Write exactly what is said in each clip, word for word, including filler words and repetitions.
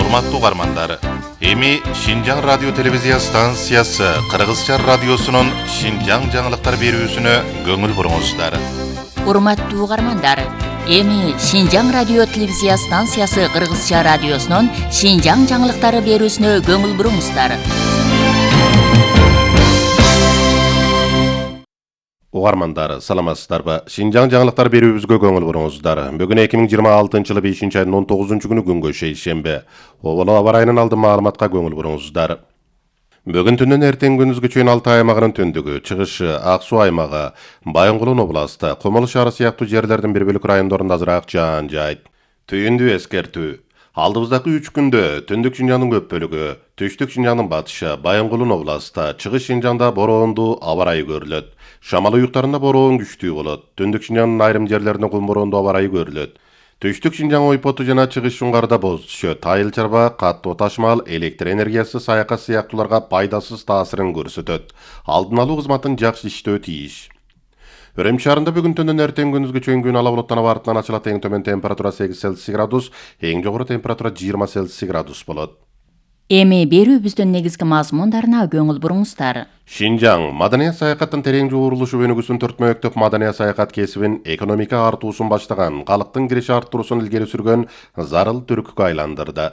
Урматтуу угармандар, эми Шинжаң радио телевизия станциясы Кыргызча радиосунун Шинжаң жаңылыктар берүүсүнө көңүл буруңуздар. Урматтуу угармандар, эми Шинжаң радио телевизия станциясы Кыргызча радиосунун Шинжаң жаңылыктары берүүсүнө көңүл буруңуздар. Угармандар, саламатсыздарбы? Шинжаң жаңылыктар берүүбүзгө көңүл буруңуздар. Бүгүн эки миң жыйырма алтынчы жылы бешинчи айдын он тогузунчу күнү күнгө шейшембе. Оболо аба ырайынан алдын маалыматка көңүл буруңуздар. Бүгүн түнүнөн эртең күндүзгө чейин Алтай аймагынын түндүгү, чыгышы, Ак Суу аймагы, Байынгулун областы, Комол шаары сыяктуу жерлердин бир бөлүк райондорунда азыраак жаан жайт. Түйүндүү эскертүү. Алдыбыздагы үч күндө түндүк Шинжаңдын көп бөлүгү, түштүк Шинжаңдын батышы, Байынгулун областы, чыгыш Шинжаңда бороондуу аба ырайы көрүлөт. Шамал уюктарында бороон күчтүү болот. Түндүк Шинжаңдын айрым жерлеринде кум бороондуу аба ырайы көрүлөт. Түштүк Шинжаң ойпоту жана чыгыш Шуңгарда боз түшөт. Айыл чарба, каттуу ташмал, электр энергиясы саяка сыяктууларга пайдасыз таасирин көрсөтөт. Алдын алуу кызматын жакшы иштөө тийиш. Өрөм шаарында бүгүн түндөн эртең күндүзгө чейин күн ала булуттанып артынан ачылат. Эң төмөн температура сегиз Цельсий градус, эң жогору температура жыйырма Цельсий градус болот. Эми берүүбүздүн негизги мазмундарына көңүл буруңуздар. Шинжаң маданият саякаттын терең жуурулушу өнүгүүсүн төртмөктөп маданият саякат кесибин экономика артуусун баштаган, калктын кириш арттыруусун илгери сүргөн зарыл түрккө айландырды.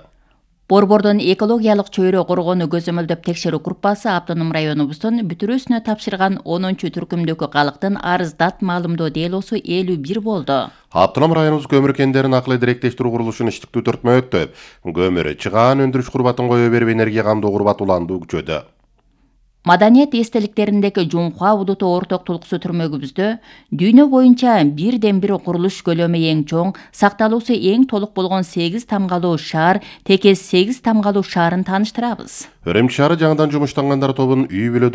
Борбордун экологиялык чөйрө коргоону көзөмөлдөп текшерүү группасы автоном районубуздун бүтүрүүсүнө тапшырган онунчу түркүмдөгү калктын арыздат маалымдоо делосу элүү бир болду. Автоном районубуз көмүр кендерин акылы директештирүү курулушун иштиктүү төртмөктөп, көмүр, чыгаан өндүрүш курбатын кое берип энергия камдоо курбат уланды күчөдө. Маданият эстеликтериндеги Жумха Удуту орток тулкусу түрмөгүбүздө дүйнө боюнча бирден бир курулуш көлөмү эң чоң, сакталуусу эң толук болгон сегиз тамгалуу шаар, Текес сегиз тамгалуу шаарын тааныштырабыз. Өрөм шаары жаңыдан жумуштангандар тобунун үй бүлө